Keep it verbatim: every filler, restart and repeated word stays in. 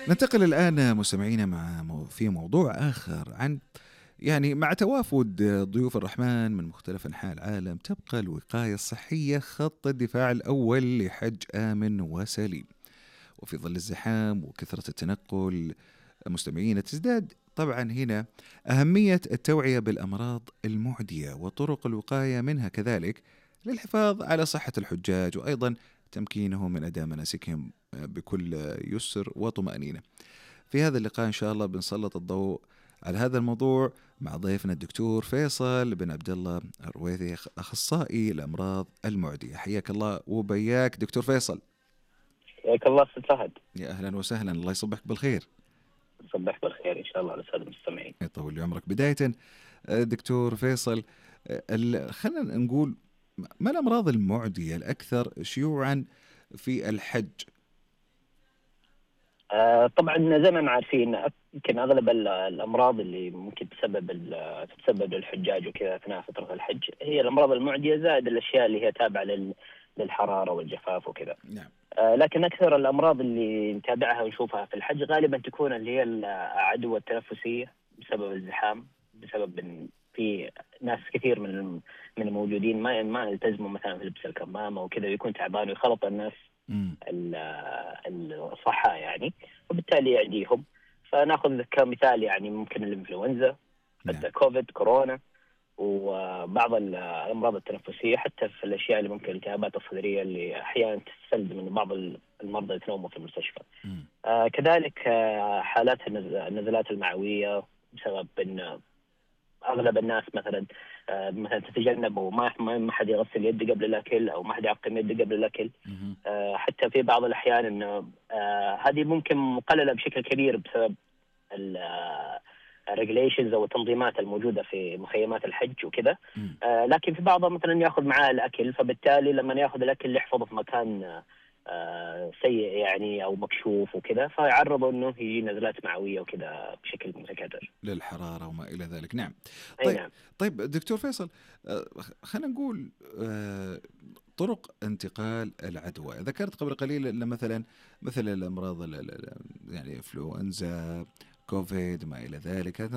ننتقل الآن مستمعينا مع مو- في موضوع آخر عن يعني مع توافد ضيوف الرحمن من مختلف أنحاء العالم تبقى الوقاية الصحية خط الدفاع الأول لحج آمن وسليم. وفي ظل الزحام وكثرة التنقل مستمعين تزداد طبعا هنا أهمية التوعية بالأمراض المعدية وطرق الوقاية منها كذلك للحفاظ على صحة الحجاج وأيضا تمكينهم من أداء مناسكهم بكل يسر وطمأنينة. في هذا اللقاء إن شاء الله بنسلط الضوء على هذا الموضوع مع ضيفنا الدكتور فيصل بن عبد الله الرويثي أخصائي الأمراض المعدية. حياك الله وبياك دكتور فيصل. حياك الله أستاذ فهد. يا أهلا وسهلا، الله يصبحك بالخير. صبح بالخير إن شاء الله على السادة المستمعين. يطول لي عمرك. بداية دكتور فيصل، ال- خلينا نقول ما الأمراض المعدية الأكثر شيوعا في الحج؟ آه طبعا زي ما عارفين يمكن أغلب ال- الأمراض اللي ممكن تسبب ال- تتسبب للحجاج وكذا أثناء فترة الحج هي الأمراض المعدية زائد الأشياء اللي هي تابعة لل- للحرارة والجفاف وكذا. نعم. آه لكن أكثر الأمراض اللي نتابعها ونشوفها في الحج غالبا تكون اللي هي العدوى التنفسية بسبب الزحام، بسبب إن في ناس كثير من الم- من الموجودين ما ما يلتزموا مثلا في لبس الكمامة وكذا، ويكون تعبان ويخلط الناس مم. ال- الصحة يعني، وبالتالي يعديهم. فناخذ كمثال يعني ممكن الإنفلونزا، نعم. حتى كوفيد، كورونا، وبعض ال- الأمراض التنفسية، حتى في الأشياء اللي ممكن الالتهابات الصدرية اللي أحيانا تستلزم من بعض المرضى يتنوموا في المستشفى. مم. آه كذلك آه حالات النز- النزلات المعوية بسبب أن اغلب الناس مثلا آه، مثلا تتجنب وما ما ما حد يغسل يده قبل الاكل او ما حد يعقم يده قبل الاكل. مم. آه، حتى في بعض الاحيان انه آه، هذه ممكن مقلله بشكل كبير بسبب الريجليشنز او التنظيمات الموجوده في مخيمات الحج وكذا. مم. آه، لكن في بعضها مثلا ياخذ معاه الاكل، فبالتالي لما ياخذ الاكل يحفظه في مكان آه، سيء يعني او مكشوف وكذا، فيعرضه انه يجي نزلات معويه وكذا بشكل متكرر للحرارة وما إلى ذلك. نعم. اي طيب نعم. طيب دكتور فيصل، آه، خلينا نقول آه، طرق انتقال العدوى. ذكرت قبل قليل أن مثلا مثل الأمراض ال- ال- ال- يعني إنفلونزا، كوفيد، ما إلى ذلك، هذه